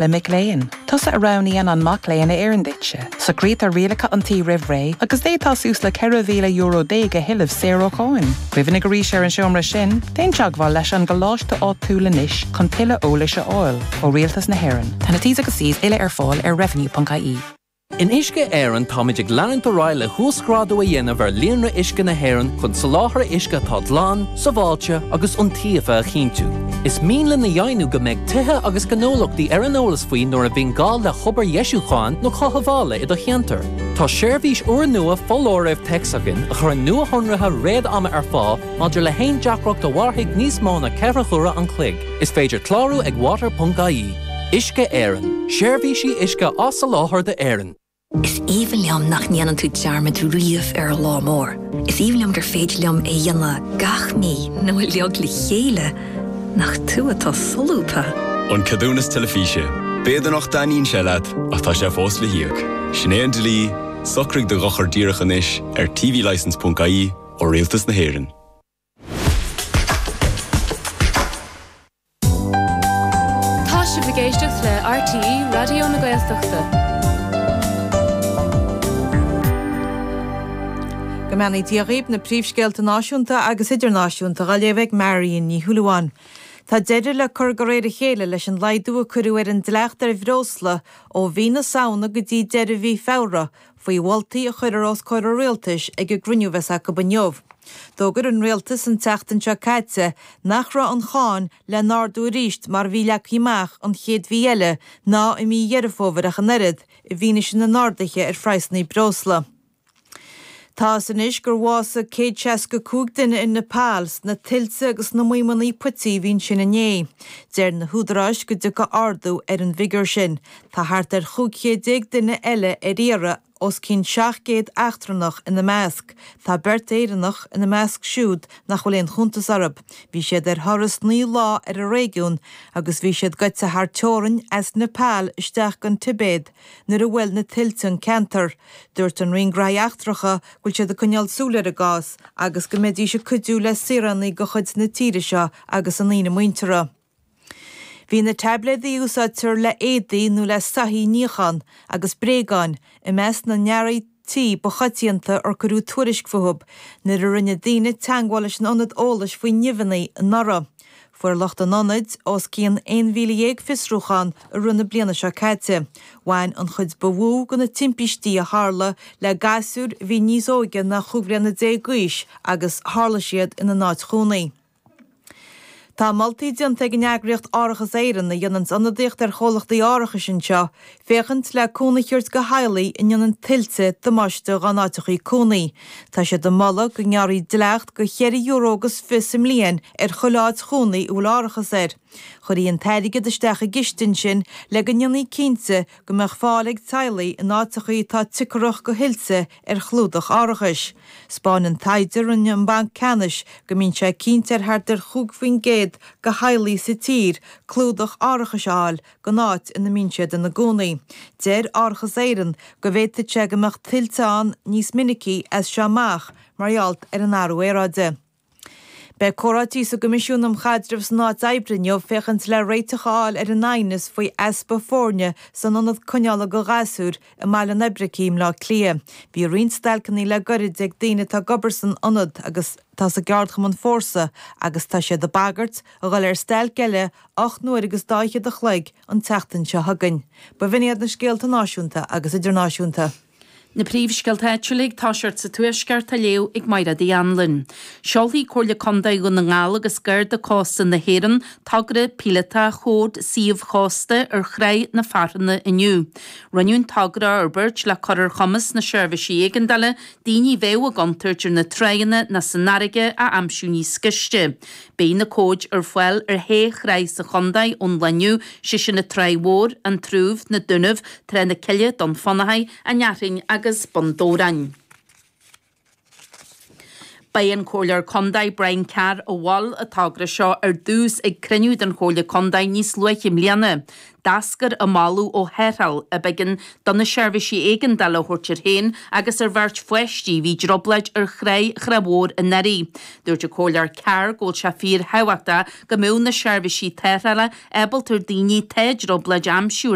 Le mic léinn. Tusa a roghnaíonn an mac léinn a oireann duitse. Socraítear rialacha an tí roimh ré agus d'fhéadfá suas le €14,000 a thuilleamh saor ó cháin. Cuimhnigh arís ar an seomra sin, déan teagmháil leis an gcoláiste áitiúil anois chun tuilleadh eolais a fháil. Ó Rialtas na hÉireann. Tá na T's agus C's uile ar fáil ar revenue.ie. In Uisce Éireann táimid ag leanúint ar aghaidh le huasghrádú a dhéanamh ar líonra uisce na hÉireann chun soláthar uisce atá glan, sábháilte agus iontaofa a chinntiú. Is mian linn a dheimhniú go mbeidh tithe agus gnólachtaí ar an eolas faoi nuair a bhíonn gá le hobair dheisiúcháin nó chothabhála i do cheantar. Tá seirbhís úrnua foláirimh téacs againn a chuireann nuashonruithe réad-ama ar fáil maidir le haon deacracht a mhairfidh níos mó ná 4 huaire an chloig. Is féidir clárú ag water.ie. Uisce Éireann, seirbhísí uisce á soláthar d'Éirinn. Is aoibhinn liom nach ndéanann tú dearmad riamh ar an lá mór. Is aoibhinn liom gur féidir liom é a dhéanamh gach mí nó uilig le chéile. Nach tú atá solúbtha! An Ceadúnas Teilifíse. B'fhéidir nach dtaitníonn sé leat, ach tá sé fós le híoc. Sin é an dlí, socraigh do dhochar díreach anois ar tvlicence.ie ó Rialtas na hÉireann. Tá sibh ag éisteacht le RTÉ Raidió na Gaeltachta. Go mbeannaí Dia dhaoibh, na príomhscéalta náisiúnta agus idirnáisiúnta á léamh ag Marion Ní Shúilleabháin. Tá deireadh le cur de réir a chéile leis an laghdú a cuireadh ar an dleacht ar bhreosla ó mhí na Samhna go dtí deireadh mhí Feabhra, faoi mholtaí a chuirfear os comhair an Rialtais ag an gcruinniú a bheas acu inniu. D'fhógair an Rialtas an tseachtain seo caite nach raibh an cháin le n-ardú arís mar a bhí leagtha amach an chéad mhí eile ná i mí Dheireadh Fómhair ach an oiread, i bhfianaise na n-arduithe ar phraghsanna breosla. Tá a fhios anois gur bhásaigh 165 duine i Nepal sna tuilte agus sna maidhmeanna puití a bhí ansin inné. Deir na húdaráis go dtiocfaidh ardú ar an bhfigiúr sin. Tá thart ar 15 chéad duine eile ar iarraidh, os cionn 700 eachtrannach ina measc. Tá beirt Éireannach ina measc siúd nach bhfuil aon chuntas orthu. Bhí siad ar thuras 9 lá ar an réigiún agus bhí siad gaibhte thar teorainn as Nepal isteach gon Tibéad nuair a bhuail na tuilte an ceantar. Dúirt an Roinn Gnóthaí Eachtracha go bhfuil siad ag coinneáil súil ar an gcás agus go mbeidís ag cuidiú le saoránaigh de chuid na tíre seo agus a ndaoine muinteartha. Bhí na taibléadaí a úsáidtear le éadaí nó le soithí a níochán, agus bréagáin, i measc na n-earraí tí ba choitianta ar cuireadh tuairisc fúthu nuair a rinne daoine teagmháil leis an ionad eolais faoi nimheanna anuraidh. Fuair lucht an ionaid os cionn 11,000 fiosrúchán i rith na bliana seo caite. Bhain an chuid ba mhó de na timpistí a tharla le gasúir a bhí níos óige ná 15 bliana d'aois agus tharla siad ina n-áit chónaí. Tá moltaí déanta ag an eagraíocht Árachas Éireann, a dhéananns ionadaíocht ar chomhlachtaí árachais anseo, féachaint le cúnamh a thabhairt go theaghlaigh a ndéanann tuilte damáiste dhá n-áiteachaí cónaí. Tá siad ag moladh go ngearrfaí dleacht go cheithre euro agus fiche sa mbliain ar chuile áit chónaí a bhfuil árachas air. Chuirfí an t-airgead isteach i gciste ansin le go ndéanfaí cinnte go mbeadh fáil ag teaghlaigh in áiteachaí atá cóngarach go thuilte ar chlúdach árachais. 'Spáineann taighde a rinne an Banc Ceannais go mbíonn sé cinnte ar thart ar 5% de theaghlaigh sa tír clúdach árachais a fháil don áit ina mbíonn siad ina gcónaí. Deir Árachas Éireann go bhféadfadh sé go mbeadh tuilte ann níos minicí as seo amach mar gheall ar an athrú aeráide. Beidh comhráití sa gCoimisiún um Chaidreamh san Áit Oibre inniu féachaint le réiteach a fháil ar an aighneas faoi easpa foirne san ionad coinneála go ghasúir i mBaile an Oibricigh i mBleá Cliath. Bhí roinnt stailceanna le goirid ag daoine atá ag obair san ionad agus atá sa gceardchumann Fórsa agus tá siad ag bagairt a dhul ar stailc eile 8 n-uair agus dá fhichead a chloig an tseachtain seo chugainn. B'in iad na scéalta náisiúnta agus idirnáisiúnta. Na príomhscéalta áitiúla ag toiseacht sa Tuaisceart á léamh ag Mairéad Uí Anluain. Seolfaidh Comhairle Contae Dhún na nGall agus Garda Cósta na hÉireann togra píolótach chód suímh chósta ar Thráigh na Fearthanna inniu. Rinneadh an togra a fhorbairt le cur ar chumas na seirbhísí éigeandála daoine a bheadh i gcontúirt ar na tráigheanna ná san fharraige a aimsiú níos gaiste. Beidh na cóid ar fáil ar shé thráigh sa chontae ón lá inniu, sé sin an Tráigh Mhór, An Trúbh, Na Dúnaibh, Trá na Cille, Dún Fionnachaidh, An Fhearthainn agus Bun Dobhráin. Ba é an Comhairleoir Contae Brian Carr a mhol an togra seo ar dtús ag cruinniú den Chomhairle Contae níos luaithe i mbliana. D'eascair an moladh ó tharrtháil ab éigean do na seirbhísí éigeandála a thabhairt air féin agus ar bheirt pháistí a bhí i dtrioblóid ar thráigh Thrá Mhór anuraidh. Dúirt an Comhairleoir Carr go bhfuil sé fíor thábhachtach go mbeadh na seirbhísí tarrthála ábalta ar daoine atá i dtrioblóid a aimsiú ar.